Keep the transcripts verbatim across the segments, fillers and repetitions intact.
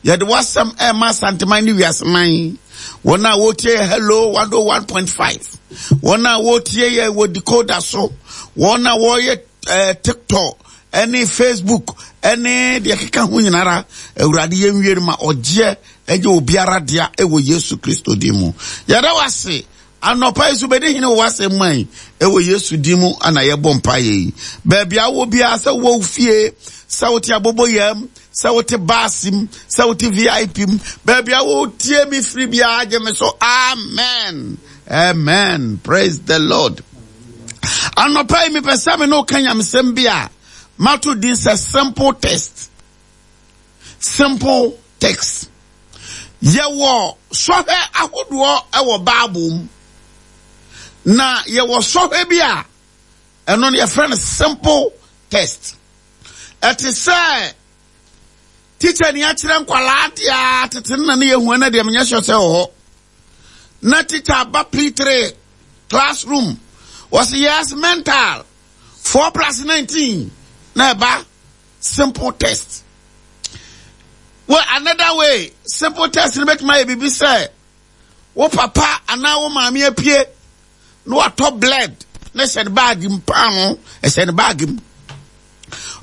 Yɛde w'asɛm ɛma Asanteman ne wiaseman. Wɔn a wɔtie yɛ Hello one oh one point five. Wɔn a wɔtie yɛ wɔ decoder so. Wɔn a wɔyɛ eh, TikTok ɛne Facebook ɛne deɛ keka ho nyinara. Awurade yɛnwie no ma ɔgyeɛ ɛgye obiara dea ɛwɔ Yesu Kristo din mu. Yɛda w'ase. Anɔpa yi so bɛdi hene wɔ w'asɛm mu ayi ɛwɔ Yesu din mu ana yɛbɔ mpaeɛ yi. Baabi a wɔ biara, sɛ wɔ fie, sɛ wote aboboyam, sɛ wote baase mu, sɛ wote V I P mu, baabi a wotie mi firi biara, gye me so amen, amen, praise the Lord. Anɔpa yi mepɛ sɛ me ne wo ka nyamesɛm bi a mato din sɛ simple test. Simple text. Yɛwɔ sɔhwɛ ahodoɔ ɛwɔ Bible mu. Na yɛwɔ sɔhwɛ bi a ɛno no yɛfrɛ no simple test. Ɛte sɛ teacher ni akyerɛ nkwalaa deɛ tete no na ne yɛhu ɛna deɛ menyɛ sure sɛ wɔ hɔ. Na teacher aba P three classroom. Wɔsi yes mental four plus nineteen na ɛba simple test. Well, another way, simple test ni bɛtuma yɛ bibi sɛ wo papa anaa wo maame apue na watɔ bled na hyɛ ne baagi mu, paano ɛhyɛ ne baagi mu.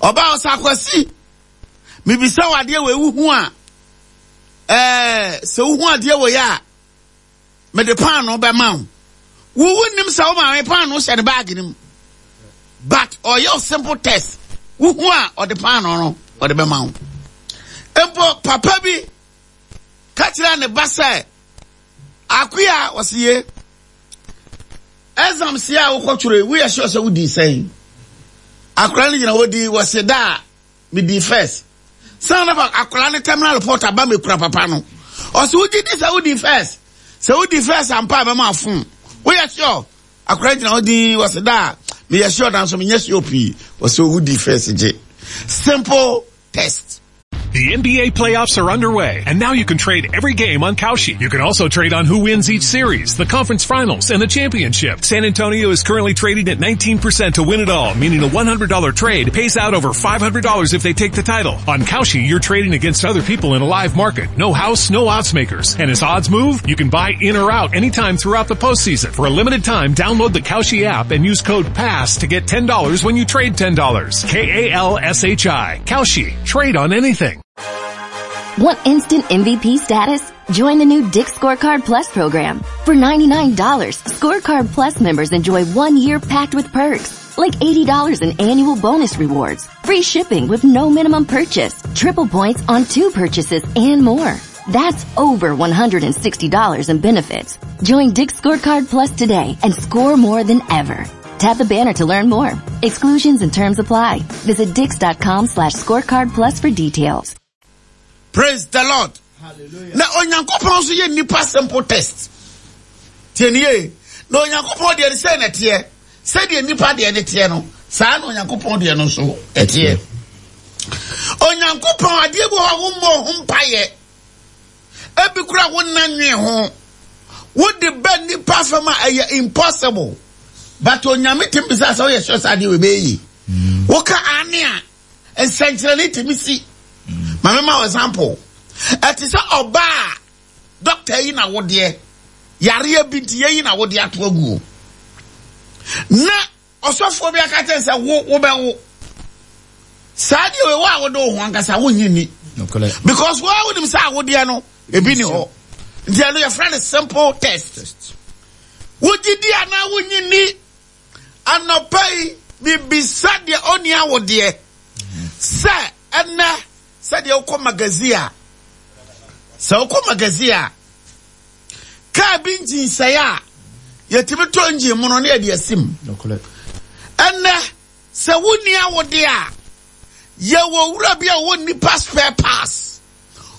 Ɔbaa ɔsɛ akwasi mibisa wo adeɛ wɔ ewu ho a, ɛɛ, sɛ wohu adeɛ wɔ yɛ a, mede paano bɛma wo. Wo wo nim sɛ wo maame paano hyɛ ne baagi mu. But ɔyɛ simple test. Wohu a ɔde paano no ɔde bɛma wo. Mpo papa bi ka kyerɛ ne ba sɛ akoya ɔsiye exam si a wokɔtwerɛ woyɛ sure sɛ wodi sɛn. Akora no gyina hɔ di wɔsi da a medi first. Sɛ na akora no terminal report aba mekura papa no. Ɔsi wogye di sɛ wodi first. Sɛ wodi first ampa a bɛma afon. Woyɛ sure. Akora gyina hɔ di wɔsi da a meyɛ sure nanso menyɛ sure pii. Wɔsi wodi first gye. Simple test. The N B A playoffs are underway, and now you can trade every game on Kalshi. You can also trade on who wins each series, the conference finals, and the championship. San Antonio is currently trading at nineteen percent to win it all, meaning a one hundred dollar trade pays out over five hundred dollars if they take the title. On Kalshi, you're trading against other people in a live market. No house, no odds makers. And as odds move, you can buy in or out anytime throughout the postseason. For a limited time, download the Kalshi app and use code PASS to get ten dollars when you trade ten dollars. K A L S H I. Kalshi. Trade on anything. Want instant M V P status? Join the new Dick's Scorecard Plus program. For ninety-nine dollars, Scorecard Plus members enjoy one year packed with perks, like eighty dollars in annual bonus rewards, free shipping with no minimum purchase, triple points on two purchases, and more. That's over one hundred sixty dollars in benefits. Join Dick's Scorecard Plus today and score more than ever. Tap the banner to learn more. Exclusions and terms apply. Visit dicks.com slash scorecard plus for details. Praise the Lord. Hallelujah. Na Onyankopɔn so ye nipa simple test. Tienie. Na Onyankopɔn de se na tie. Se de nipa de ne tie no. Saa na Onyankopɔn de no so etie. Onyankopɔn ade bu ho mo ho mpaye. Ebi kura wo nanwe ho. Wo de ba nipa fama eye impossible. But Onyame tim bisa sɛ woyɛ sure sɛ adeɛ wei bɛyɛ yie. Woka ane a, nsɛnkyerɛnne tumi si. Ma mema wo example. Ɛte sɛ ɔbaa a doctor yi na wodeɛ, yareɛ bi nti yɛyi na wodeɛ ato agu. Na ɔsɔfoɔ bi aka kyerɛ sɛ wo, wobɛwo. Saa deɛ wei, wo a wode wo ho ankasa, wonnye nni. Nokorɛ. Because wo a wonim sɛ awodeɛ no, ebi ni hɔ. Nti ɛno yɛfrɛ no simple test. Test. Wogye di anaa wonnye nni? Anɔpa yi, mibisa deɛ ɔnni awodeɛ sɛ ɛnɛ sɛdeɛ wokɔ magazine a, sɛ wokɔ magazine a, kaa bi nkyinsae a yɛtumi tɔ engine mu no na yɛde asi mu. Nokorɛ. Ɛnɛ sɛ wonni awodeɛ a, yɛwɔ owura bi a ɔwɔ nipa spare parts.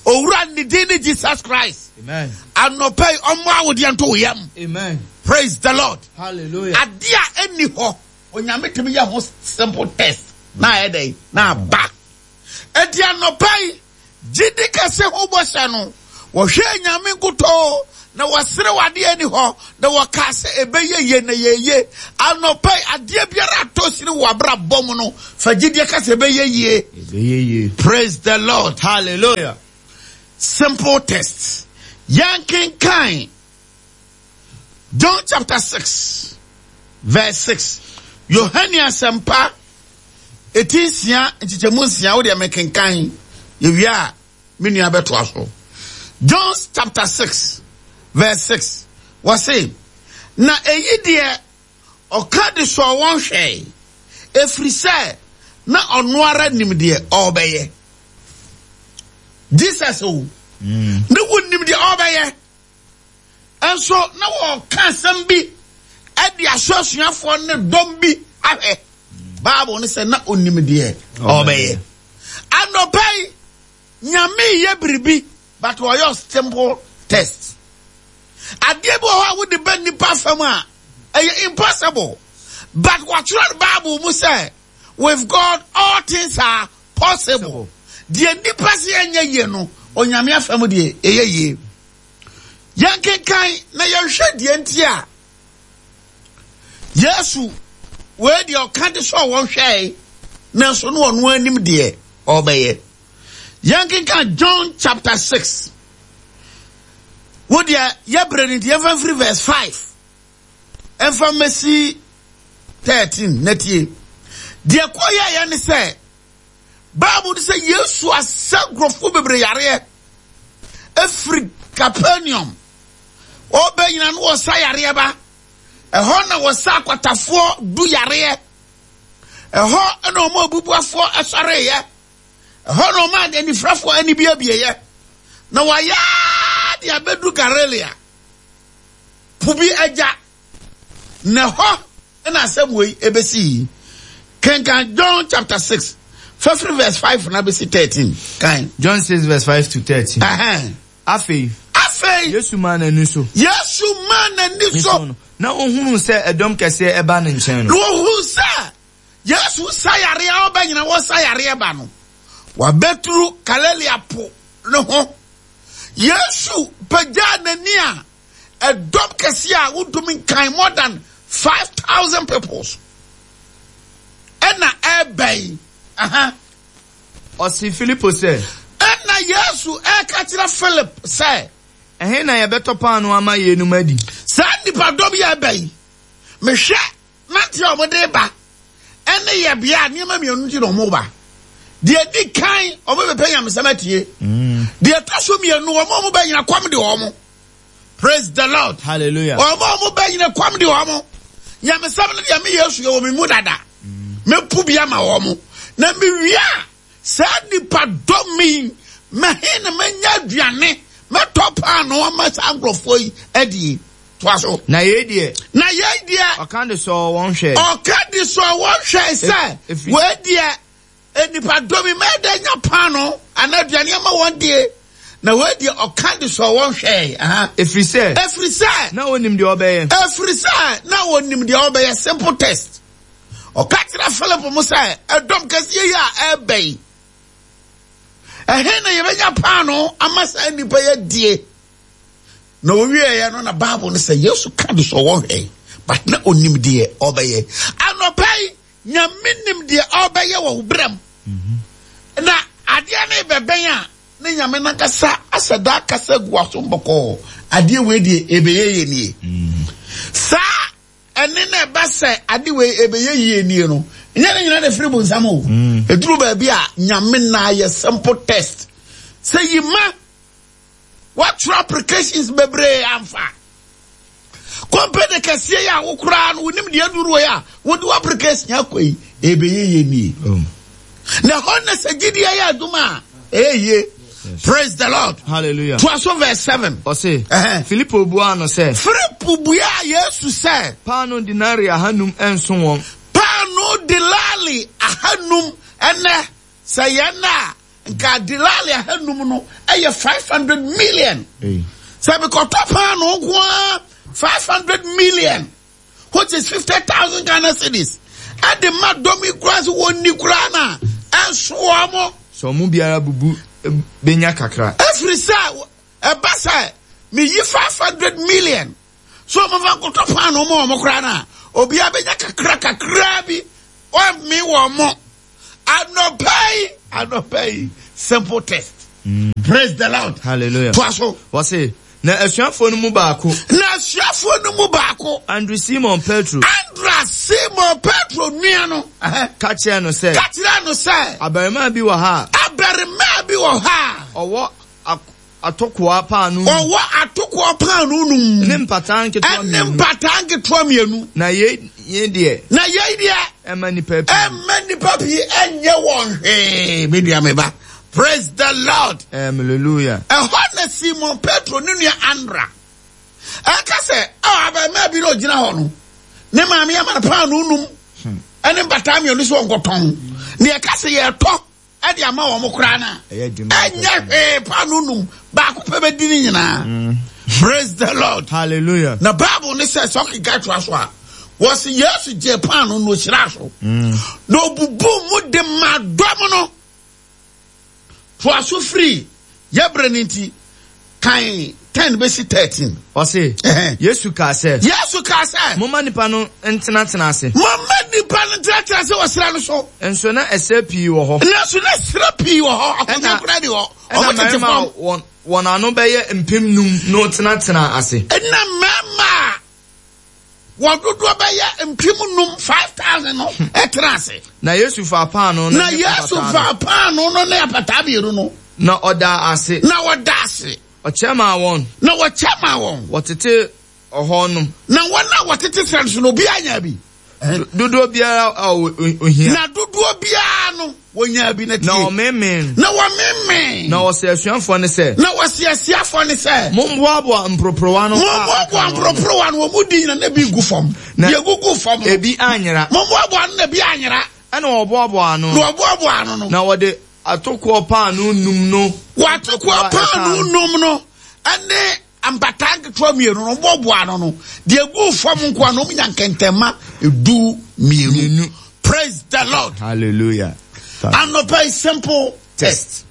Owura ne din ne Jesus Christ. Amen. Anɔpa yi, ɔmmɔ awodeɛ nto wo yam. Amen. Praise the Lord. Hallelujah. Ade a ɛnni hɔ, Onyame tumi yɛ ho simple test. Na ayɛ dɛn? Na aba. Enti anɔpa yi, gyidi kɛse ho bɔhyɛ no, wɔhwɛ Nyame nkutoo, na wɔsere w'adeɛ ni hɔ, na wɔka sɛ ɛbɛyɛ yie na yɛyie. Anɔpa yi, adeɛ biara atɔ sini wɔ abrabɔ mu no, fa gyidie ka sɛ ɛbɛyɛ yie. Ɛbɛyɛ yie. Praise the Lord. Hallelujah. Simple test. Yɛnkenkan John chapter six verse six. Yohane Asɛmpa eti nsia nkyekyɛmu nsia wo deɛ mekenkan yɛwie a me nua bɛtoa so. John chapter six verse six. Wɔse, na eyi deɛ ɔka de sɔɔ wɔn hwɛe, ɛfiri sɛ na ɔno ara nim deɛ ɔrebɛyɛ. Jesus o, mm. ne wonim deɛ ɔrebɛyɛ. Nso na wɔka asɛm bi de aso asuafoɔ ne dɔm bi ahwɛ. Bible no sɛ na onim deɛ ɔrebɛyɛ. Anɔpa yi, Nyame yɛ biribi, but ɔyɛ simple test. Adeɛ bi wɔ hɔ a wode bɛ nipa fam a, ɛyɛ impossible. But wɔatwerɛ Bible mu sɛ, with God all things are possible. Deɛ nipa sɛ ɛnyɛ yie no, Onyame afam deɛ ɛyɛ yie. Yɛnkenkan na yɛnhwɛ deɛ nti a Yesu wei deɛ ɔka de sɛ wɔn hwɛe, nanso no ɔno anim deɛ ɔbɛyɛ. Yɛnkenkan John chapter six. Wo deɛ yɛbrɛ no nti yɛmfa mfiri verse five. Ɛmfa mmɛsi thirteen na tie. Deɛ kɔ yɛyɛ ne sɛ, Bible no sɛ Yesu asa nkurɔfoɔ bebree yareɛ ɛfiri Capernaum. Ɔbɛ nyina no wɔsa yareɛ ba. Ɛhɔ na wɔsa akwatafoɔ du yareɛ. Ɛhɔ na wɔn abubuafoɔ ɛsɔreeɛ. Ɛhɔ na wɔn anifrafoɔ ani biabieɛ. Na wɔayɛ de abɛdu Galilea. Po bi agya. Na ɛhɔ na asɛm wei ɛbɛsi. Kenkan John chapter six, fafiri verse five na bɛsi thirteen. Kan. John six verse five to thirteen. Uh-huh. Afei. Afei. Yesu maa n'ani so. Yesu maa n'ani so. Na ohunu sɛ ɛdɔm kɛseɛ ɛba ne nkyɛn no. Na ohunu sɛ Yesu sa yareɛ a ɔbɛ nyina wɔsa yareɛ ba no. Wabɛturu Galilea po ne ho. Yesu pagyaa n'ani a ɛdɔm kɛseɛ a wontumi nkan more than five thousand people. Ɛna ɛbɛn. Aha. Ɔse Filipo sɛ. Ɛna Yesu ɛka kyerɛ Philip sɛ. Ɛhe na yɛbɛtɔ paanoo ama yeinom adi? Saa nnipadɔm yi ɛbɛn. Mehwɛ nante a wɔde ba ɛne yɛbea a nneɛma mmienu nti na wɔn ba. Deɛ di kan wɔn bɛpɛ nyamesɛm atie. Deɛ ɛtɔ so mmienu wɔn a wɔn bɛnyina kɔm de wɔn. Praise the Lord. Hallelujah. Wɔn a wɔn bɛnyina kɔm de wɔn. Nyamesɛm no deɛ me Yesu yɛ wɔ me mu dada. Mɛpu bi ama wɔn. Na mewie a saa nnipadɔm yi mɛhe na mɛnya aduane mɛtɔ paanoo ama saa nkurɔfoɔ yi adie. Toa so. Na yei deɛ. Na yei deɛ. Ɔka de sɔɔ wɔn hwɛe. Ɔka de sɔɔ wɔn hwɛe sɛ. Wei deɛ nnipadɔm yi mɛda nya paanoo anaa aduane ama wɔn die. Na wei deɛ ɔka de sɔɔ wɔn hwɛe. Ɛfiri sɛ. Ɛfiri sɛ. Na wɔnim deɛ ɔbɛyɛ. Ɛfiri sɛ na wɔnim deɛ ɔbɛyɛ. Simple test. Ɔka kyerɛ Philip mo sɛ ɛdɔm kɛseɛ yi a ɛbɛ yi. Ɛhe na yɛbɛnya paanoo ama saa nnipa yi adie? Na owieɛ no na Bible no sɛ Yesu ka de sɔ wɔn hwɛe, but na onim deɛ ɔbɛyɛ. Anɔpa yi, Nyame nim deɛ ɔbɛyɛ wɔ wo berɛm. Na adeɛ no bɛbɛn a, ne Nyame nankasa ahyɛ da akasa gu w'asom bɔkɔɔ. Adeɛ wei deɛ ɛbɛyɛ yie nie. Saa ɛne na ɛba sɛ ade wei ɛbɛyɛ yie nie no, nyɛ ne nyina na ɛfiri bonsam o. Ɛduru baabi a Nyame na ayɛ simple test. Sɛ yima wɔatwerɛ applications bebree amfa. Company kɛseɛ yi a wokora no wonim deɛ aduru wɔ yi a wode wo application akɔ yi ɛbɛyɛ yie nie. Na hɔ na sɛ gyidie yɛ adwuma a ɛyɛ yie. Praise the Lord. Hallelujah. Toa so verse seven. Ɔse, Filipo buaa no sɛ. Filipo buaa Yesu sɛ. Paanoo denari ahanum nso wɔn. Paanoo delali ahanum ɛnɛ sɛ yɛn a nka delali ahanum no ɛyɛ five hundred million. Sɛ mekɔtɔ paanoo nko ara five hundred million, which is fifty thousand Ghana cedis. Ɛde ma dɔm yi koraa sɛ wɔnni koraa na ɛnso wɔn. Sɛ ɔmo biara bubu benya kakra. Ɛfiri sɛ ɛba sɛ meyi five hundred million so ɔmo fa nkɔtɔ paanoo ma ɔmo koraa na obiara benya kakra kakra bi ɔmme wɔn mo. Anɔpa yi, anɔpa yi, simple test. Mm. Praise the Lord. Hallelujah. Toa so. Wɔse, na asuafoɔ no mu baako. Na asuafoɔ no mu baako. Andrew Simon Petro. Andrew Simon Petro nua no. Ka kyerɛɛ no sɛ. Ka kyerɛɛ no sɛ. Abarimaa bi wɔ ha. Abarimaa bi wɔ ha. Ɔwɔ atokoa paanoo. Ɔwɔ atokoa paanoo num. Ne mpataa nketewa mmienu. Ɛne mpataa nketewa mmienu. Na yei yei deɛ. Na yei deɛ. Ɛmma nnipa pii. Ɛmma nnipa pii ɛnyɛ wɔn hwee. Me nua me ba. Praise the Lord. Hallelujah. Ɛhɔ na Simon Petro ne nua Andra ɛka sɛ ɔ abarimaa bi na ɔgyina hɔ no ne maame ama no paanoo num ɛne mpataa mmienu sɛ ɔnkɔtɔn. Na yɛka sɛ yɛtɔ ɛde ama wɔn koraa no a ɛnyɛ hwee paanoo num baako pɛ bɛdi ne nyinaa. Praise the Lord. Hallelujah. Na Bible ne sɛ sɛ ɔkeka toa so a wɔsi Yesu gye paanoo na ɔhyira so na ɔbubu mu de ma dɔm no. Toa so firi yɛbrɛ no nti kan ten bɛsi thirteen. Ɔse, Yesu kaa sɛ. Yesu kaa sɛ. Momma nnipa no ntenatena ase. Momma nnipa no ntenatena ase wɔ serɛ no so. Nso na ɛserɛ pii wɔ hɔ. Nanso na serɛ pii wɔ hɔ. Akonnwa koraa ni hɔ. Ɛna mmarima a wɔn, wɔn ano bɛyɛ mpem num no tenatenaa ase. Ɛna mmarima a wɔn dodoɔ bɛyɛ mpem num, five thousand no, ɛtena ase. Na Yesu faa paanoo no Na ne Yesu apataa no. faa paanoo no ne apataa mmienu no. Na ɔdaa ase. Na ɔdaa ase. Ɔkyɛ maa wɔn. Na wɔkyɛ maa wɔn. Wɔtete ɔhɔ nom. Na wɔn a wɔtete serɛ no so no, obiara nyaa bi. Dodoɔ biara a ohia. Na dodoɔ biara no, wɔnyaa bi na tie. Na wɔmemee. Na wɔmemee. Na wɔse asuafoɔ no sɛ. Na wɔse asuafoɔ no sɛ. Mommoaboa mporoporowa no. Mommoaboa mporoporowa no, wɔn mu di nyina na ebi gu fam. Na deɛ gugu fam no. Ebi anyera. Mommoaboa no na ebi anyera. Ɛna wɔboaboa ano. Na wɔboaboa ano no. Na wɔde atokoɔ paanoo num no. Wɔatokoɔ paanoo num no ɛne mpataa nketewa mmienu no wɔboaboa ano no deɛ gu fam nkoa no wɔn nya nkɛntɛnma edu mmienu. Praise the Lord. Hallelujah. Anɔpa yi simple test.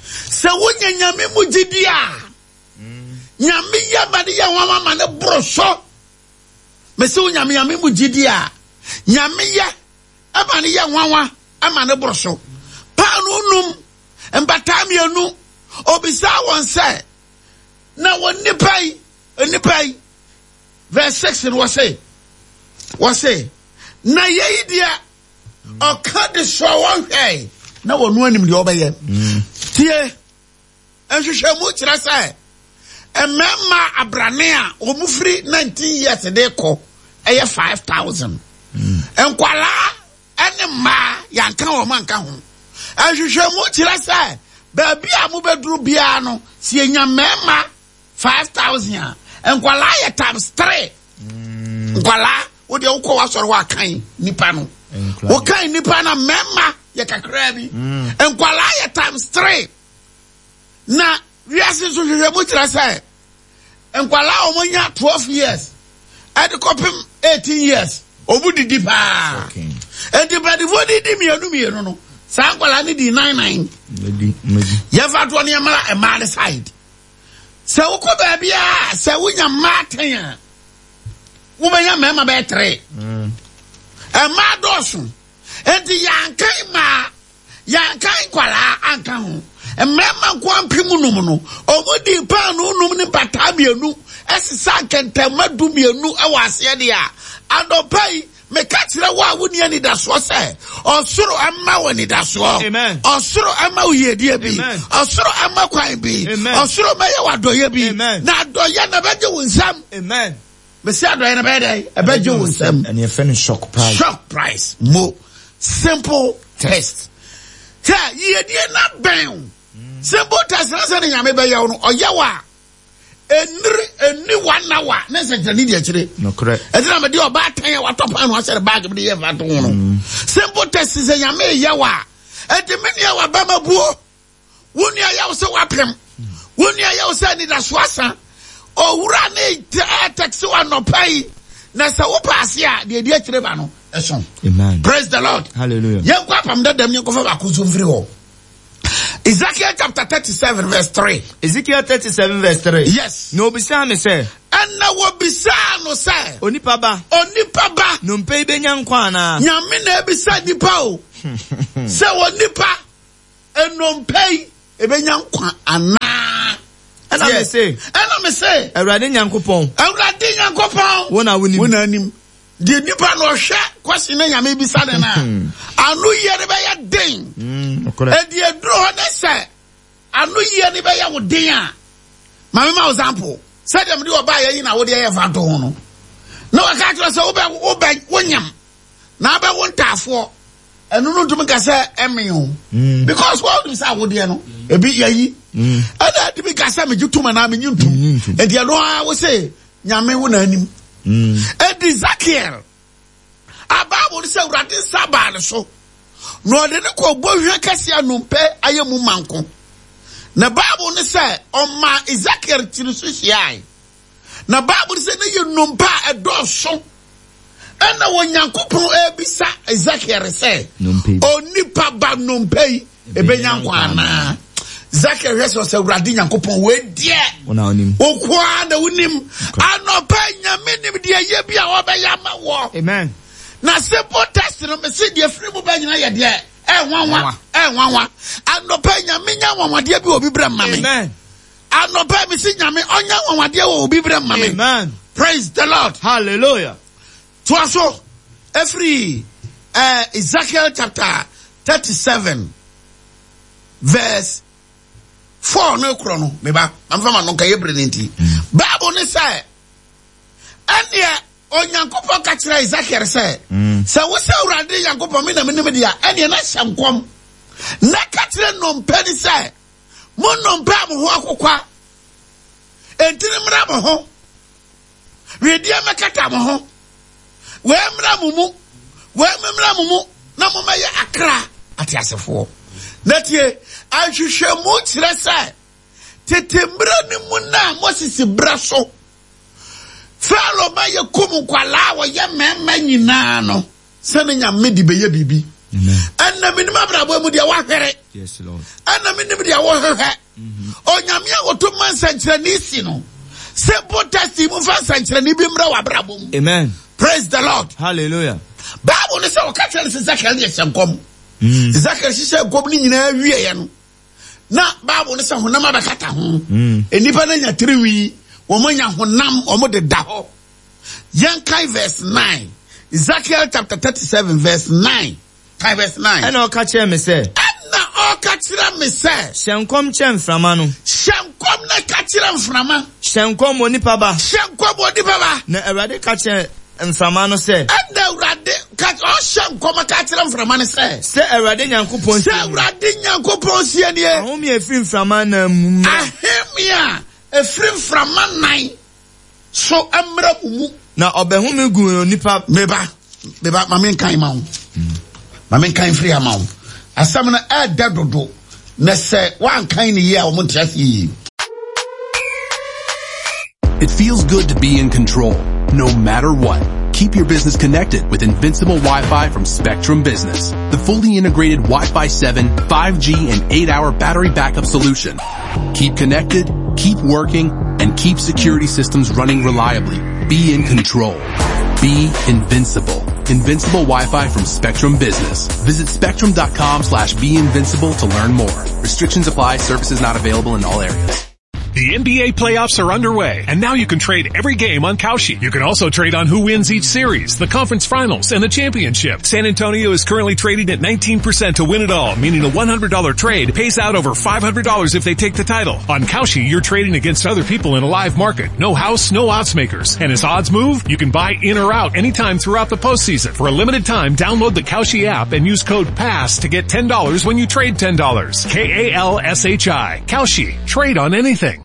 Sɛ wonya nyame mu gyidi a, nyame yɛ ma ne yɛ nwanwa ma ne boro so. Mese wo nyame nyame mu gyidi a, nyame yɛ ma ne yɛ nwanwa ma ne boro so. Paanoo num, mpataa mmienu, obisaa wɔn sɛ, na wɔn nipa yi, nipa yi, verse six no wɔse, wɔse, na yei deɛ ɔka de sɔ wɔn hwɛe na wɔn anim deɛ ɔbɛyɛ. Tie, nhwehwɛmu kyerɛ sɛ mmarima abrane a wɔn firi nineteen years de kɔ ɛyɛ five thousand. Nkwalaa ɛne mmaa yɛanka wɔn anka ho. Nhwehwɛmu kyerɛ sɛ baabi a mobɛduru biara no, sɛ yɛnya mmarima five thousand a, nkwalaa yɛ times three. Nkwalaa, wo deɛ wokɔ w'asɔre hɔ akan nipa no. Wokan nipa no mmarima yɛ kakraa bi. Nkwalaa yɛ times three. Na wiase nso hwehwɛ mu kyerɛ sɛ nkwalaa a wɔnya twelve years ɛde kɔpem eighteen years wɔn didi paa. Enti mpanimfoɔ didi mmienu mmienu no, saa nkwalaa no di nine nine. Yɛfa toɔ no yɛmmra mmaa no side. Sɛ wokɔ baabi a sɛ wonya mmaa ten a, wobɛnya mmarima bɛyɛ three. Mmaa dɔɔso. Enti yɛankan mmaa, yɛankan nkwalaa anka ho. Mmarima nko mpem num no, wɔn di paanoo num ne mpataa mmienu ɛsesa nkɛntɛmma du mmienu ɛwɔ aseɛ deɛ a, anɔpa yi, meka kyerɛ wo a wonni anidasoɔ sɛ, ɔsoro ɛmma wo anidasoɔ. Amen. Ɔsoro ɛmma wo yiedie bi. Amen. Ɔsoro ɛmma kwan bi. Amen. Ɔsoro mɛyɛ wo adɔyɛ bi. Amen. Na adɔyɛ na ɛbɛgye wo nsam. Amen. Mesi adɔyɛ na ɛbɛyɛ dɛn? Ɛbɛgye wo nsam. Ɛne yɛfrɛ no shock price. Shock price. Mo. Simple test. Sɛ yiedie na bɛn wo. Simple test na sɛ ne nyame bɛyɛ wo no, ɔyɛ wo a, eniri, enni one hour ne nsɛnkyerɛnne di akyire. Nokorɛ. Ɛti na mede ɔbaatan a watɔ paano ahyɛ ne baage mu de yɛ mfa to ho no. Simple test sɛ nyame yɛ wo a, ɛnti me nua wabɛma buo. Wo nua yɛ wo sɛ wapem. Wo nua yɛ wo sɛ anidaso asa. Owura ne tɛksi wɔ anɔpa yi. Na sɛ wo paase a, deɛ di akyire ba no, ɛso. Amen. Praise the Lord. Hallelujah. Yɛnkɔ apam dadam, yɛnkɔfa baako nso mfiri hɔ. Ezekiel chapter thirty-seven verse three. Ezekiel thirty-seven verse three. Yes. Na obisaa me sɛ. Ɛna wobisaa no sɛ. Onipa ba. Onipa ba. Nnompe yi benya nkwa anaa? Nyame na ebisa nipa o. Sɛ onipa nnompe yi Ebenya nkwa anaa. Ɛna me se. Ɛna me se. Awurade Nyankopɔn. Awurade Nyankopɔn. Wo na wonim. Wo na anim. Deɛ nipa na ɔhwɛ kwasi na Nyame bisa ne na. Ano yie ne bɛyɛ den. Edi eduro hɔ ne sɛ ano yie ne bɛyɛ wo den a. Maame ma example. Sɛdeɛ mede ɔbaa yɛ yi na wode yɛ fa to ho no. Na wɔka kyerɛ sɛ wobɛ wobɛ wonyam. Na abɛwo ntaafoɔ. Ɛno no ntumi ka sɛ ɛme o. Because wɔn nim sɛ awodeɛ no ebi yɛyi. Ɛna ɛtumi ka sɛ megye tum anaa menye ntum. Enti ɛno ara wo se Nyame wo na anim. Enti Ezekiel a Bible no sɛ Awurade nsa baa ne so na ɔde ne kɔ bɔhwɛ kɛse a nnompe ayɛ mu manko. Na Bible no sɛ ɔmaa Ezekiel tiri so hyiae. Na Bible no sɛ ne yɛ nnompe a ɛdɔɔso. Ɛna Onyankopɔn ebisa Ezekiel sɛ onipa ba nnompe yi ebenya nkwa anaa? Ezekiel hwɛ sɛ ɔsɛ Awurade Nyankopɔn wei deɛ wokoa na wonim. Anɔpa Nyame nim deɛ yɛ bi a ɔbɛyɛ ama wɔ. Amen. Na simple test no mese deɛ firi mu bɛ nyina yɛ deɛ ɛnwanwa ɛnwanwa. Anɔpa Nyame nya nwanwadeɛ bi wɔ obi brɛ ma me. Amen. Anɔpa mese Nyame ɔnya nwanwadeɛ wɔ obi brɛ ma me. Amen. Praise the Lord. Hallelujah. Toa so ɛfiri eh, Ezekiel chapter thirty-seven verse four no korɔ no meba mamfa ma no nka yɛ bere ne nti. Bible ne sɛ ɛneɛ Onyankopɔn ka kyerɛ Ezekiel sɛ sɛ wo sɛ Awurade Nyankopɔn me na menim deɛ a ɛneɛ na hyɛ nkɔm na ka kyerɛ nnompe ne sɛ mo nnompe a mo ho akokwa enti ne mmra mo ho wedeɛ mɛkata mo ho wei mmra mo mu wei mmra mo mu na mo mɛyɛ akra ateasefoɔ. Na tie ahwehwɛmu kyerɛ sɛ tete mmerɛ no mu na Moses brɛ so Pharaoh ma yɛ kum nkwalaa a wɔyɛ mmarima nyinaa no sɛ ne Nyame de bɛyɛ biribi. Ɛnna menim abrabɔ mu deɛ wahwere. Ɛnna menim deɛ wɔhwehwɛ. Onyame a wɔto ma nsɛnkyerɛnne si no simple test mu fa nsɛnkyerɛnne bi mmra wɔ abrabɔ mu. Amen. Praise the Lord. Hallelujah. Bible no sɛ wɔka kyerɛ no sɛ Ezekiel deɛ hyɛ nkɔm. Ezekiel hyehyɛ nkɔm no nyinaa wieɛ no na Bible no sɛ honam abɛkata ho. Nnipa no anya tiriwi, wɔn anya honam, wɔn deda hɔ. Yɛnkan verse nine. Ezekiel chapter thirty-seven verse nine. Kan verse nine. Ɛna ɔka kyerɛ me sɛ. Ɛna ɔka kyerɛ me sɛ. Hyɛ nkɔm kyerɛ mframa no. Hyɛ nkɔm na ka kyerɛ mframa. Hyɛ nkɔm wɔ nipa ba. Hyɛ nkɔm wɔ nipa ba. Na Awurade ka kyerɛ mframa no sɛ. Ɛna Awurade ka ɔhyɛ nkɔm ka kyerɛ mframa no sɛ. Sɛ Awurade Nyankopɔn sie. Sɛ Awurade Nyankopɔn sie nie. Ahome a efiri mframa nan mu. Ahome a efiri mframa nan so mmra mu mu. Na ɔbɛhome gu nipa. Meba meba ma menkan ma wo. Ma menkan firi ama wo. Asɛm no ɛɛdɛ dodo na sɛ woankan ne yie a wɔn nte ase yie. It feels good to be in control, no matter what. Keep your business connected with Invincible Wi-Fi from Spectrum Business. The fully integrated Wi-Fi seven, five G, and eight hour battery backup solution. Keep connected, keep working, and keep security systems running reliably. Be in control. Be invincible. Invincible Wi-Fi from Spectrum Business. Visit spectrum.com slash be invincible to learn more. Restrictions apply. Services not available in all areas. The N B A playoffs are underway, and now you can trade every game on Kalshi. You can also trade on who wins each series, the conference finals, and the championship. San Antonio is currently trading at nineteen percent to win it all, meaning a one hundred dollar trade pays out over five hundred dollars if they take the title. On Kalshi, you're trading against other people in a live market. No house, no odds makers. And as odds move, you can buy in or out anytime throughout the postseason. For a limited time, download the Kalshi app and use code PASS to get ten dollars when you trade ten dollars. K A L S H I. Kalshi. Trade on anything.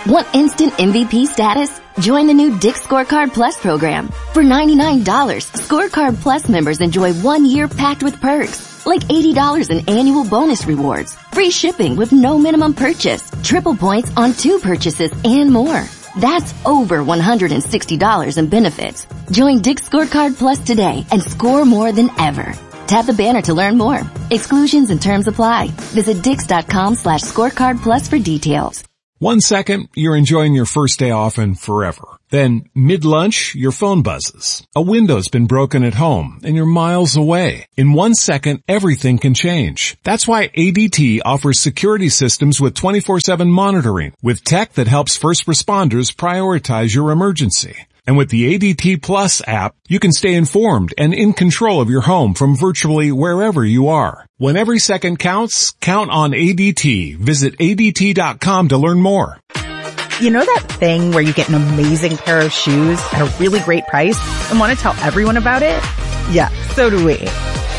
Want instant M V P status? Join the new Dick's Scorecard Plus program. For ninety-nine dollars, Scorecard Plus members enjoy one year packed with perks, like eighty dollars in annual bonus rewards, free shipping with no minimum purchase, triple points on two purchases, and more. That's over one hundred sixty dollars in benefits. Join Dick's Scorecard Plus today and score more than ever. Tap the banner to learn more. Exclusions and terms apply. Visit dicks.com slash scorecard plus for details. One second, you're enjoying your first day off and forever. Then, mid-lunch, your phone buzzes. A window's been broken at home, and you're miles away. In one second, everything can change. That's why A D T offers security systems with twenty-four seven monitoring, with tech that helps first responders prioritize your emergency. And with the A D T Plus app, you can stay informed and in control of your home from virtually wherever you are. When every second counts, count on A D T. Visit A D T dot com to learn more. You know that thing where you get an amazing pair of shoes at a really great price and want to tell everyone about it? Yeah, so do we.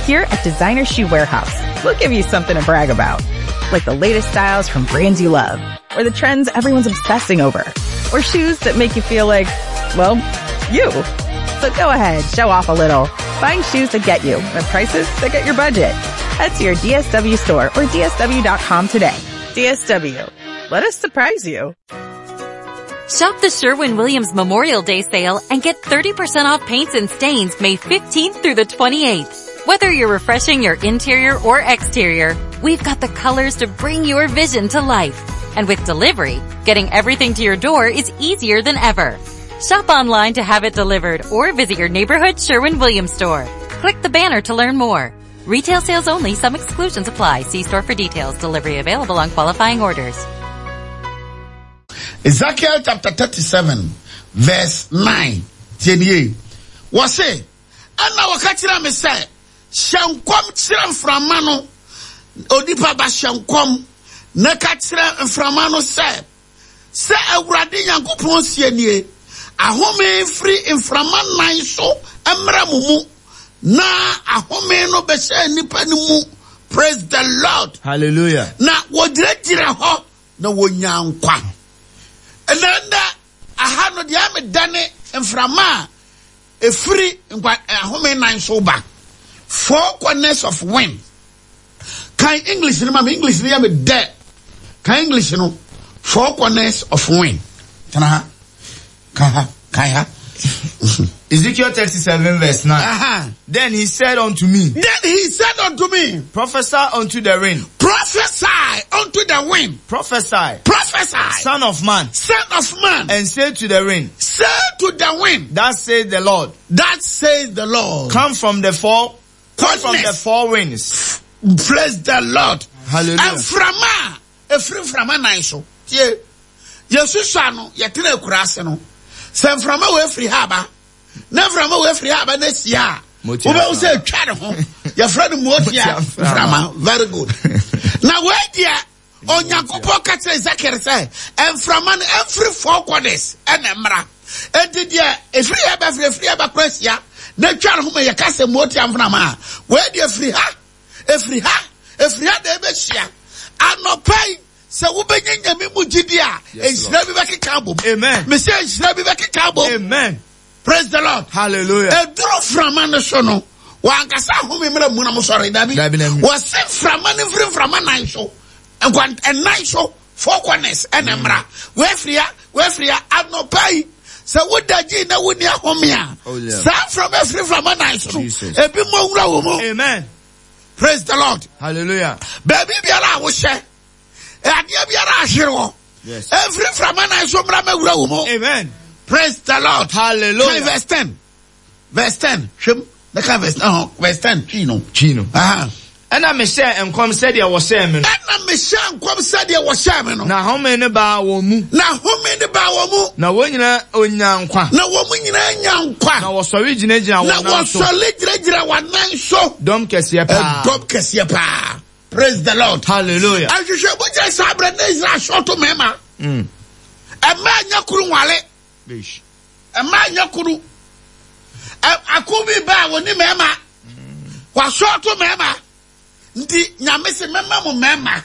Here at Designer Shoe Warehouse, we'll give you something to brag about. Like the latest styles from brands you love, or the trends everyone's obsessing over, or shoes that make you feel like, well, you. So go ahead, show off a little. Find shoes that get you at prices that get your budget. Head to your D S W store or D S W dot com today. D S W. Let us surprise you. Shop the Sherwin-Williams Memorial Day sale and get thirty percent off paints and stains May fifteenth through the twenty-eighth. Whether you're refreshing your interior or exterior, we've got the colors to bring your vision to life. And with delivery, getting everything to your door is easier than ever. Shop online to have it delivered or visit your neighborhood Sherwin-Williams store. Click the banner to learn more. Retail sales only. Some exclusions apply. See store for details. Delivery available on qualifying orders. Ezekiel chapter thirty-seven, verse nine. Tienie. Wase, ana wakachira me se, shankom chira mframano, odipa ba shankom, na kachira mframano se, se Awurade Nyankopɔn sie nie, ahome firi mframa nan so emra mumu, na ahome no bɛhyɛ nipa no mu. Praise the Lord. Hallelujah. Na wɔgyinagyina hɔ na wɔnya nkwa. Ɛnɛ aha no deɛ amedane mframa a efiri nkwa ahome nan so ba. Four corners of wind. Kan English no ma me English no yɛ me dɛ. Kan English no four corners of wind. Tena ha. Ka ha. Kan ha. Ezekiel thirty-seven verse nine. Uh-huh. Then he said unto me. Then he said unto me. Prophesy unto the wind. Prophesy unto the wind. Prophesy. Prophesy. Son of man. Son of man. And say to the wind. Say to the wind. That says the Lord. That says the Lord. Come from the four. Come from the four winds. Praise the Lord. Hallelujah. And frama. Efri frama nine so. Ye. Yesu no yetena ekurase no. Se mframa we free haba. Na mframa we free haba na sia. Wo be say twa ne ho. Your friend motia mframa. Very good. Na we dia Onyankopɔn ka kyerɛ Ezekiel sɛ mframa no every four corners ɛna mmra. Enti dia efiri ha ba free free ba kwasia na twa ne ho ma yɛ ka sɛ motia mframa. We dia free ha. Efiri ha. Efiri ha da be hia. Anɔpa sɛ wobɛnya nyame mu gidi a nhyira bi bɛkeka abom. Amen. Me sɛ nhyira bi bɛkeka abom. Amen. Praise the Lord. Hallelujah. Eduru frama no so no wankasa ahome mmerɛ mu na mo sɔre dabi. Wɔse frama no mfiri mframa nan so. Nkwan ɛnan so four corners ɛna mmra. Wɔafiri ha, wɔafiri ha anɔpa yi sɛ woda gyi na wonni ahome a saa frama afiri mframa nan so no ebi mo nwura wɔ mu. Amen. Praise the Lord. Hallelujah. Baabi biara a wohyɛ adeɛ biara ahwere wɔ. Yes. Every frama nan so mmra mɛwura wɔ mu. Amen. Praise the Lord. Hallelujah. Verse ten. Verse ten. Hwem. Neka verse uh, verse ten. Chino. Chino. Aha. Ɛna mehyɛ nkɔm sɛdeɛ wɔhyɛɛ me no. Ɛna mehyɛ nkɔm sɛdeɛ wɔhyɛɛ me no. Na home ne baa wɔn mu. Na home ne baa wɔn mu. Na wɔn nyinaa onya nkwa. Na wɔn nyinaa nya nkwa. Na wɔsɔre gyinagyina wɔn nan so. Na wɔsɔre gyinagyina wɔn nan so. Dɔm kɛseɛ paa. Dɔm kɛseɛ paa. Praise the Lord. Hallelujah. Ahwehwɛ mo gyina saa abirɛ ne Israel sɔɔto mɛma. Ɛmɛ anya kuru nwale. Ɛmɛ anya kuru. Ako bi ba a wɔn ni mɛma. Wasɔɔto mɛma. Nti nyame se mɛma mo mɛma.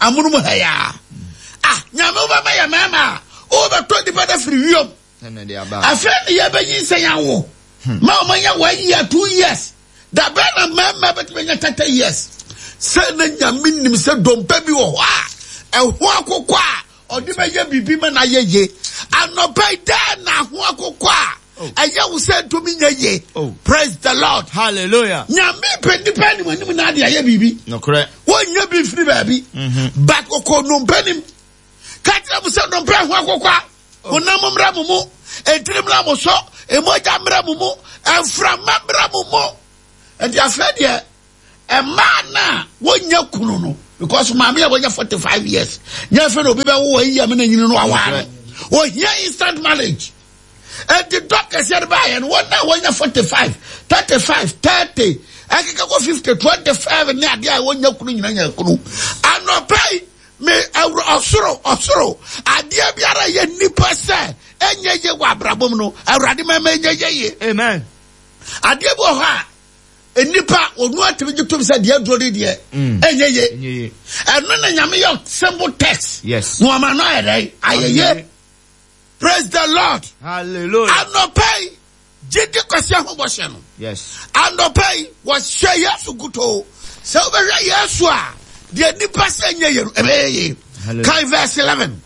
Amunu mo hɛ ya. Ah nyame wo bɛma yɛ mɛma. O bɛ tɔ nipa dɛ firi wiom. Afɛn ni yɛ bɛ nyinsɛn awo. Ma o ma nya one year two years. Dabɛ na mɛma bɛ tɛmɛ nya thirty years. Sɛ na nyame nim sɛ dompe bi wɔ hɔ a ɛho akokɔ a ɔde bɛyɛ biribi ma na yɛ ye. Anɔpa yi dɛn na ho akokɔ a ɛyɛ wo sɛ ntumi nyɛ ye. Praise the Lord. Hallelujah. Nyame pɛ nipa anim anim na ade ayɛ biribi. Nokorɛ. Wɔnyɛ bi firi baabi. But ɔkɔ nnompe nim. Ka kyerɛ mo sɛ nnompe ho akokɔ a honam mmra mo mu. Entiri mmra mo so, emogya mmra mo mu, mframa mmra mo mu. Enti afei deɛ mmaa na wonya kunu no because maame a wonya forty-five years nya afei na obi bɛwo wɔ yi amena nyini no aware no. Ohia instant marriage. Enti dɔkɛseɛ no baayɛ no wɔn a wonya forty-five, thirty-five, thirty, ɛkeka kɔ fifty, twenty-five ne adeɛ a wonya kunu nyina nya kunu. Anɔpa yi me ɔsoro ɔsoro adeɛ biara yɛ nipa sɛ ɛnyɛ yie wɔ abrabɔ mu no Awurade mɛmɛ ɛnyɛ yie yie. Amen. Adeɛ bi wɔ hɔ a nipa onu atumi gye tom sɛ deɛ aduro de deɛ ɛnyɛ yie. Ɛno na Nyame yɛ simple text. Yes. Na ɔma no ayɛ dɛ ayɛ yie. Praise the Lord. Hallelujah. Anɔpa yi gyidi kwasi ahobɔhyɛ no. Yes. Anɔpa yi wɔhyɛ Yesu kuto. Sɛ wobɛhwɛ Yesu a deɛ nipa sɛ nyɛ yie no ɛbɛyɛ yie. Kan verse eleven.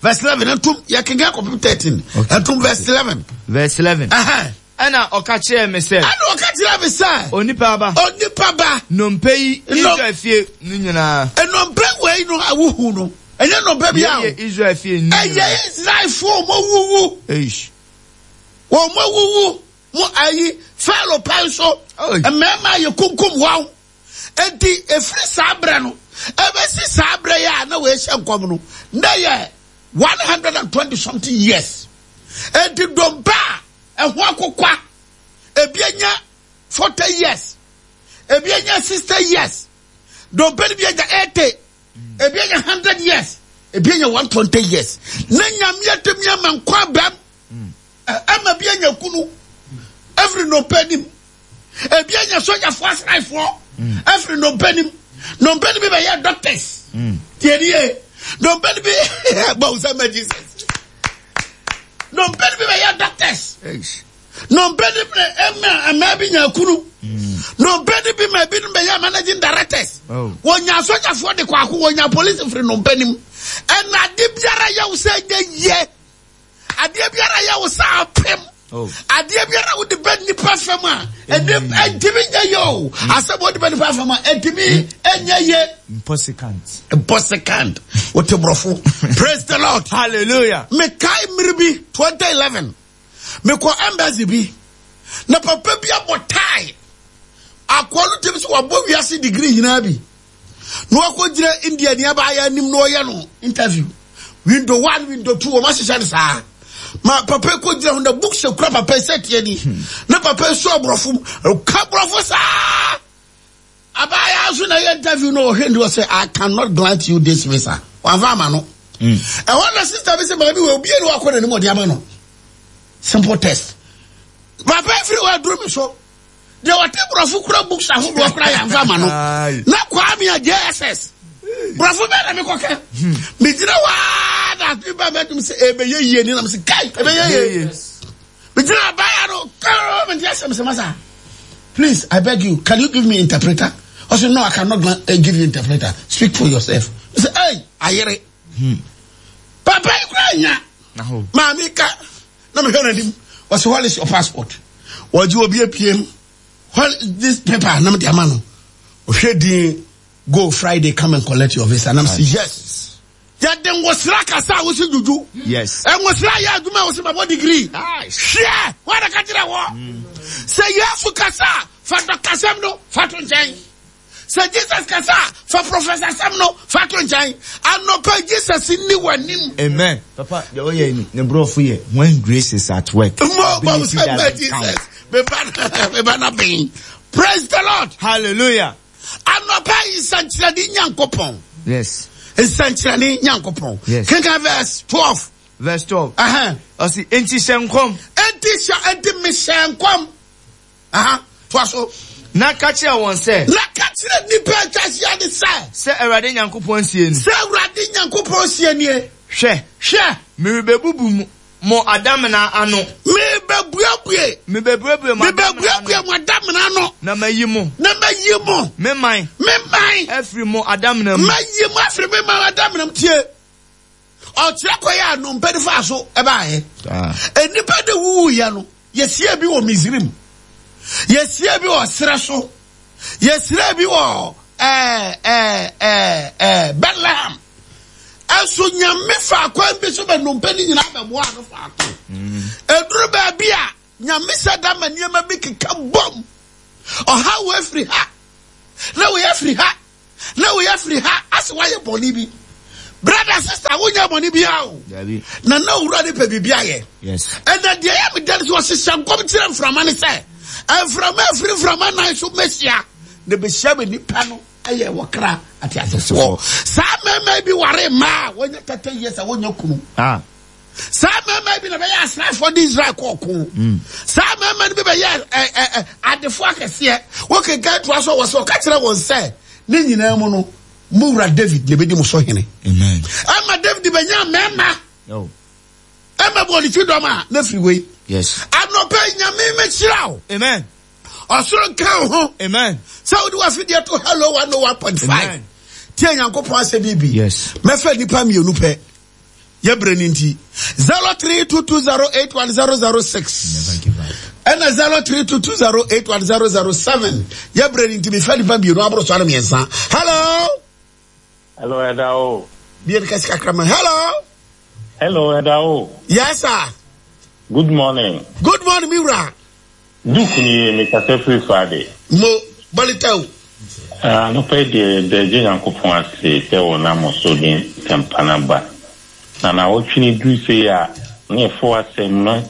Verse eleven entum yɛkenkan kɔpem thirteen. Entum verse eleven. Verse eleven. Uh-huh. Ɛna ɔka kyerɛɛ me sɛ. Ɛna ɔka kyerɛɛ me sɛ. Onipa ba. Onipa ba. Nnompe yi Israel fie no nyinaa. Nnompe wei no a wohu no. Ɛnyɛ nnompe bi a. Ɛyɛ Israel fie no nyinaa. Ɛyɛ Israelfoɔ mo wuwu. Eish. Wɔn mo wuwu. Mo ayi Pharaoh pɛn so. Mmarima yɛ kunkum wɔn. Enti efiri saa berɛ no ebesi saa berɛ yi a na wɔahyɛ nkɔm no na yɛ one hundred and twenty something years. Enti dompe a ɛho akokwa ebi anya forty years, ebi anya sixty years, dompe no bi anya eighty, ebi anya hundred years, ebi anya one twenty years. Na Nyame atumi ama nkwa abam ama bi anya kunu every nnompe nim. Ebi anya sogyafoɔ asraafoɔ every nnompe nim. Nnompe no bi bɛyɛ doctors. Tie nie, nnompe no bi bɔ nsa ma Jesus. Nnompe no bi bɛyɛ doctors. Nnompe no bi ɛma ɛma bi nya kunu. Nnompe no bi ma bi no bɛyɛ managing directors. Wɔnya sogyafoɔ de kɔ ako, wɔnya police firi nnompe nim. Ɛna ade biara yɛ wo sɛ nyɛ yie. Adeɛ biara yɛ wo sɛ apem. Adeɛ biara wode bɛ nipa fam a ɛntumi nyɛ yie o. Asɛm wode bɛ nipa fam a ɛntumi nyɛ yie. Impossible. Impossible. Wote borɔfo. Praise the Lord. Hallelujah. Mekae mmere bi twenty eleven. Mekɔ embassy bi. Na papa bi abɔ tie. Akɔ no tɛm sɛ wabɔ wiase degree nyinaa bi. Na wakɔgyina India ni abaayɛ anim na ɔyɛ no interview. Window one, window two, wɔn ahyehyɛ no saa. Ma papa kɔ gyina hɔ na book sɛ kura papa sɛ tie ni. Na papa so aborɔfo mu, ka borɔfo saa. Abaayewa nso na yɛ interview no ɔhwɛ ndi ɔsɛ I cannot grant you this visa. Wamfa ama no. Ɛhɔ na sister bi sɛ maame wɔ obi enu akɔ n'anim ɔde ama no. Simple test. Papa efiri hɔ aduru mi so. Deɛ wɔte borɔfo kura books ahodoɔ kura yɛn fa ama no. Na Kwame a J S S. Borɔfo bɛɛ na mekɔka. Megyina hɔ a na ade ba mɛdum sɛ ɛbɛyɛ yie ni nam sɛ kai ɛbɛyɛ yie. Megyina abaya no kɔɔ mente asɛm sɛ masa. Please, I beg you, can you give me interpreter? I said, no, I cannot give you interpreter. Speak for yourself. I said, hey, ayere. Papa yi kura nya. Maame ka na mehwɛ n'anim. Ɔsɛ, what is your passport? Wɔgye obi apiem. What is this paper? Na mede ama no. Ɔhwɛ din. Go Friday, come and collect your visa. And I'm saying, yes. Yɛde ngosra kasa a wosi juju. Yes. Ngosra yɛ adwuma a wosi mabɔ degree. Nice. Hwɛ, wɔn ka kyerɛ wɔ. Sɛ Yesu kasa, fa dɔkasɛm no, fa to nkyɛn. Sɛ Jesus kasa, fa professor sɛm no, fa to nkyɛn. Anɔpa Jesus ni w'anim. Amen. Papa, deɛ ɔyɛ ni, ne borɔfo yɛ, when grace is at work. Mo bɔ Ability sɛ doesn't Jesus. count. Meba, meba na bɛn. Praise the Lord. Hallelujah. Anɔpa yi nsɛnkyerɛnne Nyankopɔn. Yes. Nsɛnkyerɛnne Nyankopɔn. Yes. Kenkan verse twelve. Verse twelve. Uh-huh. Ɔsi, enti hyɛ nkɔm. Enti hyɛ, enti mehyɛ nkɔm. Uh-huh. Toa so. Na ka kyerɛ wɔn sɛ. Na ka kyerɛ nnipa atwa ahyia ne sɛ. Sɛ Awurade Nyankopɔn sie ni. Sɛ Awurade Nyankopɔn sie nie. Hwɛ. Hwɛ. Merebebubu mu. Mo adamena ano. Mebebuebue. Mebebuebue mo adamena ano. Mebebuebue mo adamena ano. Na mayi mo. Na mayi mo. Me man. Me man. Afiri mo adamena mu. Mayi mo afiri me man adamena mu tie. Ɔkyerɛ kɔ yɛ ano mpɛ nifa so ɛbaayɛ. Nnipa de wuwu yɛ no. Yɛsie bi wɔ Misrim. Yɛsie bi wɔ serɛ so. Yɛsie bi wɔ ɛɛ ɛɛ ɛɛ ɛɛ Bethlehem. Ɛso Nyame fa kwan bi so bɛ nnompe ne nyinaa bɛboa ano faako. Eduru baabi a Nyame sɛ da ma nneɛma bi keka bom. Ɔhaw wɔ afiri ha. Na wɔyɛ afiri ha. Na wɔyɛ afiri ha. Ase wɔayɛ bɔne bi. Brother, sister, wonyɛ bɔne biara o. Na na owura ne pɛ biribi ayɛ. Ɛna deɛ ɛyɛ me dɛ no sɛ ɔhyehyɛ nkɔm kyerɛ mframa ne sɛ mframa afiri mframa nan so mɛhyia na bɛhyia bɛ nipa no ɛyɛ wɔkra ateasefoɔ. Saa mmarima bi ware mmaa a wɔnyɛ thirty years a wɔnyɛ kunu. Ah. Saa mmarima bi na bɛyɛ asraafoɔ de Israel kɔ ɔko. Mm. Saa mmarima no bi bɛyɛ ɛ ɛ ɛ adefoɔ akɛseɛ. Wɔkenkan toa so wɔ sɛ ɔka kyerɛ wɔn sɛ ne nyinaa mu no mo wura David na ebedi mo so hene. Amen. Ɛma David bɛnya mmarima. Ɛma bɔ ne ti dɔm a na firi wei. Yes. Anɔpɛ Nyame mɛhyira wo. Amen. Ɔsoro nka wo ho. Amen. Sɛ wode w'afidie to Hello one oh one point five. Tie Nyankopɔn asɛm yi bi. Yes. Mɛfɛ nnipa mmienu pɛ. Yɛbrɛ no nti. zero three two two zero eight one zero zero six. Ɛna zero three two two zero eight one zero zero seven. Yɛbrɛ no nti mefɛ nnipa mmienu aboro so ano mmiɛnsa. Hello. Hello, Eda o. Bie no kɛse kakra ma. Hello. Hello, Eda o. Yes, sir. Good morning. Good morning, mi wura. Duke ni mi kasa firi Friday. Mo bɔlita o. Anɔpa yi deɛ yɛda Agya Nyankopɔn ase sɛ ɔnam so de nsɛmpa no aba. Na naawɔtwe no duru sei a, na yɛfa w'asɛm no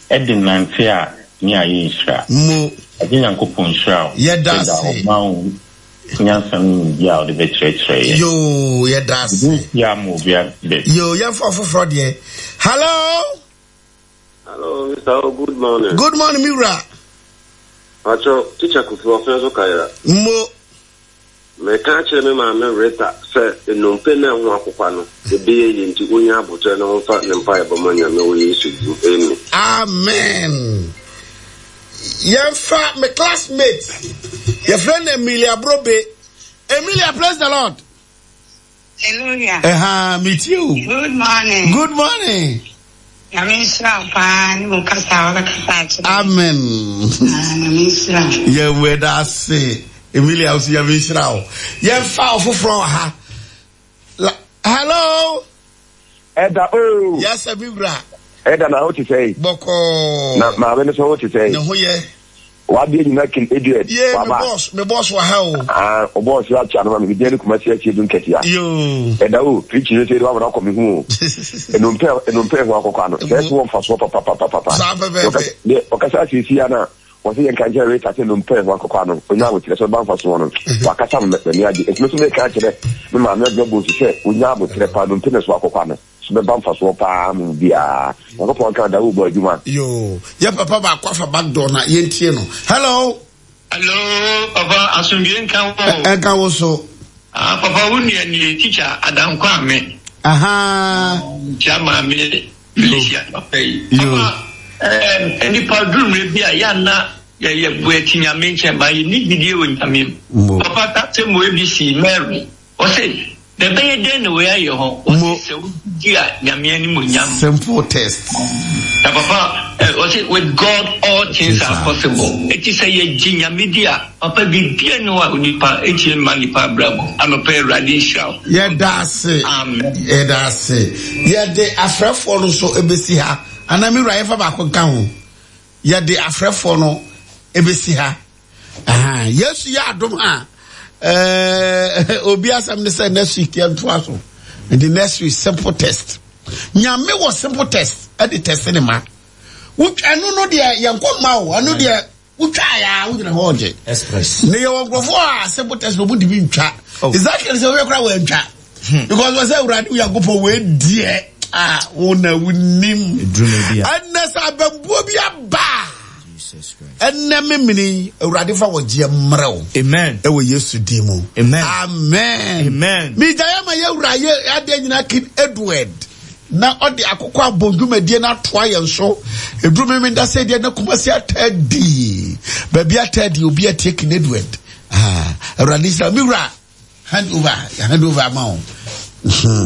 de nante a, ne ayɛ nhyira. Mo. Agya Nyankopɔn nhyira wo. Yɛda ase. Yɛda ɔma wo nyansa ne nimdeɛ a wode bɛkyerɛkyerɛ yɛn. Yoo, yɛda ase. Ebi nsi ama obiara bɛ. Yoo, yɛmfa ɔfoforɔ deɛ. Hello. Hello, Mister O, good morning. Good morning, mi wura. Pacho, teacher Kofi ɔfɛn so kayera. Mo. Meka kyerɛ me maame Rita sɛ nnompe na ɛho akokwa no, ebɛyɛ yie nti onya abotire na ɔmfa ne mpaebɔ ma Nyame wɔ Yesu din. Amen. Amen. Yɛmfa me classmate, yɛfrɛ no Emilia Brobe. Emilia, praise the Lord. Hallelujah. Ɛha, metie o. Good morning. Good morning. Nyame nhyira wo paa ne mo kasa a wabɛkasa akyerɛ. Amen. Ah, Nyame nhyira wo. Yɛwɔ da ase. Emilia, wo so Nyame nhyira wo. Yɛmfa ɔfoforɔ wɔ ha. Hello. Ɛda o. Yes, mi wura. Ɛda na ho te sɛ. Bɔkɔɔ. Na maame no so ho te sɛ. Ne ho yɛ. Wadeɛ nyina kin Edward. Ye, me boss, me boss wɔ ha o. Ah, o boss yɛ akyia no ma me media ne Kumasi akyi edu nketea. Yoo. Ɛda o, preaching no sɛ ɛde wabana akɔ me ho o. Enompe enompe ho akɔkɔ ano. Sɛ ɛso wɔ mfasoɔ papapapapa. Saa pɛpɛɛpɛ. Deɛ ɔkasa asiesie ana wɔsɛ yɛn ka nkyɛn Rita sɛ enompe ho akɔkɔ ano. Onya abokyerɛ sɛ ɔba mfasoɔ no. Wakasa me m'ani agye. Nti me nso meka kyerɛ me maame adwuma bonsu sɛ onya abokyerɛ paa enompe ne so akɔkɔ ano. So bɛba mfasoɔ paa mu biara. Nyankopɔn nka da wobɔ adwuma. Yoo, yɛ papa baako afa back door na yɛntie no. Hello. Hello, papa asomdwe nka wo. Ɛnka wo so. Ah, papa wo nua nie teacher Adankwa ame. Aha. Ntia maame Felicia papa yi. Papa, eh, nipa duru mmerɛ bi a yɛanna yɛyɛ bu akyi Nyame nkyɛn ba yɛnni gyidie wɔ Nyame mu. Papa ka sɛ mo A B C Mary, ɔse na ɛbɛyɛ dɛn na wei ayɛ hɔ? Ɔse sɛ wogye a Nyame animuonyam. Simple test. Na papa ɔse with God all things are possible. Eti sɛ yɛgye Nyame di a, papa biribiara nni hɔ a onipa ɛtumi mma nipa abrabɔ. Anɔpa Awurade nhyira wo. Yɛda ase. Amen. Yɛda ase. Yɛde afrɛfoɔ no nso ebesi ha. Anaa mi wura yɛfa baako nka ho. Yɛde afrɛfoɔ no ebesi ha. Aha. Yesu yɛ adom a ɛɛ obi asɛm ne sɛ next week yɛntoa so. Nti next week simple test. Nyame wɔ simple test ɛde test ne ma. Wotwa ɛno no deɛ yɛnkɔ mma o. Ɛno deɛ wotwa ya wogyina hɔ ɔgye. Express. Ne yɛwɔ nkurɔfoɔ a simple test na ɔmo ntumi ntwa. Ezekiel sɛ woyɛ koraa wɔantwa. Because wɔ sɛ Awurade Onyankopɔn wei deɛ a wo na wonim. Ɛnɛ sɛ abambuo bi aba a, ɛnɛ memene Awurade fa wɔgyeɛ mmerɛ wo. Amen. Ɛwɔ Yesu din mu. Amen. Amen. Amen. Megyaeɛ ma yɛwura yɛ adeɛ nyinaa King Edward na ɔde akokɔ abɔ dwumadie no atoa yɛn so. Ɛduru memenda sɛ deɛ na Kumasi ataa di. Baabi ataa di obi atie King Edward. Ah, Awurade nhyira. Me wura, hand over, hand over ama wo.